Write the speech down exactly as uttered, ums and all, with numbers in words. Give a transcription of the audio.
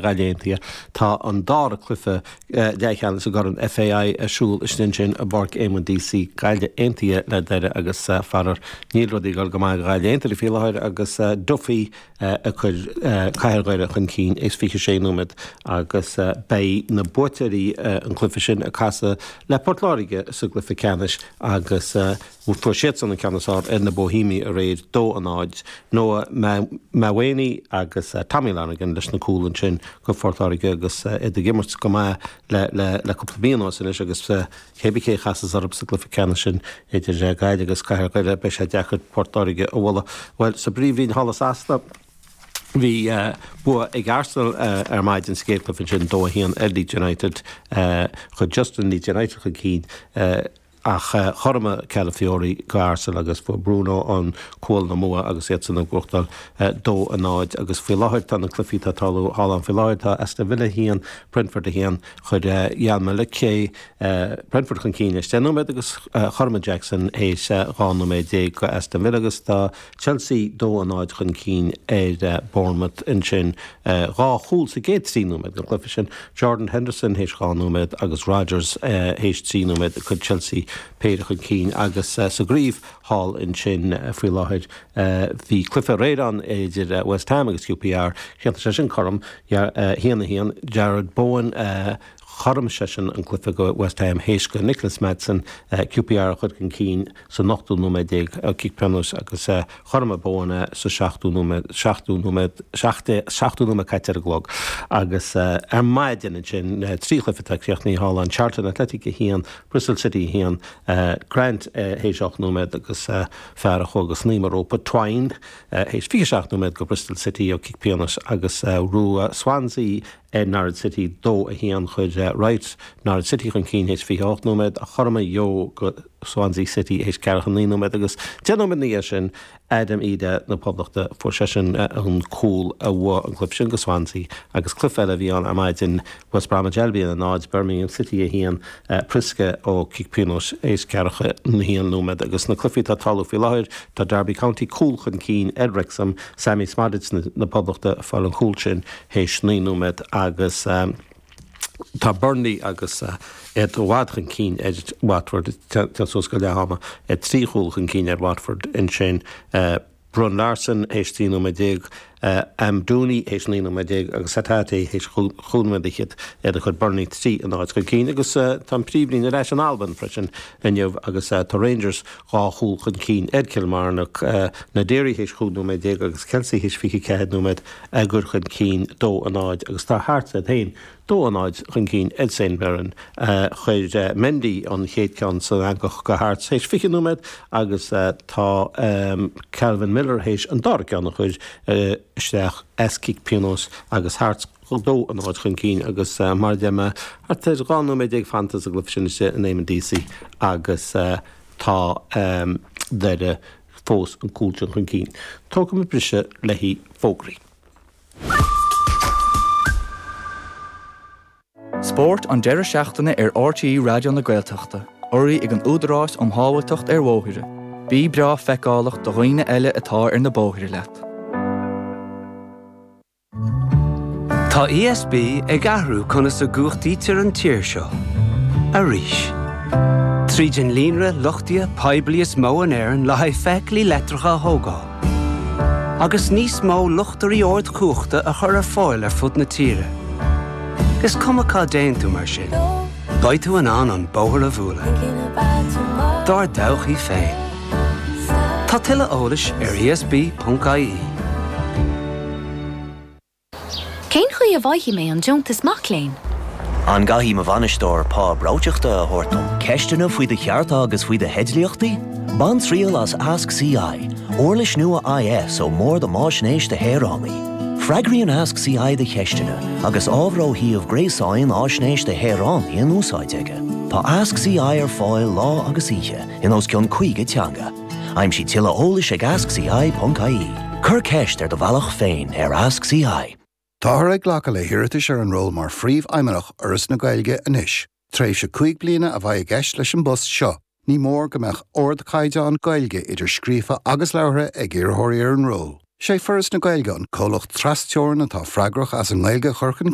Gaillimh Aontaithe. Tá an dara cluiche leathcheannais i gCorn FAI ar siúl istigh ansin i bPáirc Éamonn Deacy, Gaillimh Aontaithe le Doire agus faraor níl rudaí ag dul go maith do Ghaillimh Aontaithe faoi láthair agus Duffy ag cur Cathair Dhoire chun cinn is fiche sé nóiméad agus beidh na buaiteoirí an cluiche sin ag casadh le Port Láirge sa gcluiche ceannais agus fuair siadsan an ceann is fearr ar na Bohemiaigh aréir, dó a náid. Noah Mawene agus Tommy Lonergan leis na cúil ansin go Phort Láirge agus iad ag imirt go maith le le cúpla mí anuas anois agus cé bith cé a chasas orthu sa gcluiche ceannais sin idir Gaillimh agus Cathair Dhoire beidh sé deacair Port Láirge a bhualadh. Bhuel, sa bPríomhroinn thall i Sasana, bhí bua ag Arsenal ar maidin sa gcéad chluiche ansin, dó a haon ar Leeds United. Chuir Justin Leeds United chun cinn ach chothromaigh Calafiori go Arsenal agus fuair Bruno an cúl na mbua agus iadsan ag buachtáil dó a náid agus faoi láthair tá na cluichí atá ag tarlú thall ann faoi láthair tá Aston Villa a haon, Brentford a haon. Chuir Emenike Brentford chun cinn théis deich nóiméad agus chothromaigh Jackson théis dhá nóiméad déag go Aston Villa agus tá Chelsea dó a náid chun cinn ar Bournemouth ansin. Dhá chúl sa gcéad trí nóiméad den chluiche sin, Jordan Henderson théis dhá nóiméad agus Rogers théis trí nóiméad ag cur Chelsea péire chun cinn agus sa gcraobh thall ansin faoi láthair bhí cluiche aréir ann idir West Ham agus QPR. Chríochnaigh sé sin cothrom, a haon a haon. Jarrod Bowen, chothromaigh seisean an cluiche go West Ham théis go Nicholas Madsen QPR a chur chun cinn san ochtú nóiméad déag ó chic pionóis agus chothromaigh Bowen é sa seachtú nóiméad, seachtú nóiméad, seachtú nóiméad caite ar an gclog. Agus ar maidin ansin, trí chluiche atá críochnaithe thall ann, Charlton Athletic a haon, Bristol City a haon, Grant théis ocht nóiméad agus fear a chuaigh go snaidhm an rópa, Twine, théis fiche seacht nóiméad go Bristol City ó chic pionóis agus bhuaigh Swansea ar Norwich City dó a haon. Chuir Wright Norwich City chun cinn théis fiche a hocht nóiméad ach chothromaigh Yeo go Swansea City théis ceathracha naoi nóiméad agus deich nóiméad ina dhiaidh sin Adam Idah na Poblachta fuair seisean an cúl a bhuaigh an cluiche sin go Swansea agus cluiche eile a bhí ann ar maidin West Bromwich Albion a náid, Birmingham City a haon, Priske ó chic pionóis théis ceathracha a haon nóiméad agus na cluichí atá ag tarlú faoi láthair tá Derby County cúl chun cinn ar Wrexham, Sammy Szmodics na Poblachta ag fáil an chúl sin théis naoi nóiméad agus tá Burnley agus iad i bhfad chun cinn ar Watford, téann suas go leath ama, trí chúl chun cinn ar Watford ansin. Bruun Larsen théis trí nóiméad déag, Amdouni théis naoi nóiméad déag agus Hatate théis chúig nóiméad fhichead iad a chuir Burnley trí a náid chun cinn. Agus tá an Príomhroinn ar ais in Albain freisin inniu agus tá Rangers dhá chúl chun cinn ar Kilmarnock, Naderi théis chúig nóiméad déag agus Kelsey théis fiche ceathair nóiméad á gcur chun cinn dó a náid agus tá Hearts iad féin dó a náid chun cinn ar St Mirren. Chuir Mendy an chéad ceann san eangach go Hearts théis fiche nóiméad agus tá Calvin Miller théis an dara ceann a chur isteach as cic pionóis agus Hearts dó a náid chun cinn agus mar a deir mé thart ar dhá nóiméad déag fanta sa gcluiche sin istigh in Eamonn Deacy agus tá Doire fós an cúl sin chun cinn. Tógfaidh muid briseadh le haghaidh fógraí. Spórt an deireadh seachtaine ar RTÉ Raidió na Gaeltachta, urraithe ag an Údarás um Shábháilteacht ar Bhóithre. Bí breá feiceálach do dhaoine eile atá ar na bóithre leat. Tá ESB ag athrú conas a gcumhachtaítear an tír seo. Arís. Tríd an líonra luchtaithe poiblí is mó in Éirinn le haghaidh feithiclí leictreacha a thógáil. Agus níos mó luchtairí ardchumhachta a chur ar fáil ar fud na tíre. Is cuma cá dtéann tú mar sin, beidh tú in ann an bóthar a bhualadh. Dár dtodhchaí féin. Tá tuilleadh eolais ar ESB.ie. Cén chaoi a bhfaighidh mé an deontas mac léinn? An gcaithfidh mo bhainisteoir pá breoiteachta a thabhairt dom? Ceisteanna faoi do chearta agus faoi do theidlíochtaí? Bain triail as Ask CI, uirlis nua IS ón mBord um Fhaisnéis do Shaoránaigh. Freagraíonn Ask CI do cheisteanna agus ábhar ó shuíomh gréasáin Fhaisnéis do Shaoránaigh in úsáid aige. Tá Ask CI ar fáil lá agus oíche in os cionn caoga teanga. Aimsigh tuilleadh eolais ag askci.ie. Cuir ceist ar do bhealach féin ar Ask CI. Táthar ag glacadh le hiarratais ar an ról mar Phríomhfheidhmeannach Fhoras na Gaeilge anois. Tréimhse cúig bliana a bheidh i gceist leis an bpost seo. Ní mór go mbeadh ardchaighdeán Gaeilge idir scríofa agus labhartha ag iarrthóirí ar an ról. Sé Foras na Gaeilge an comhlacht trasteorann atá freagrach as an nGaeilge a chur chun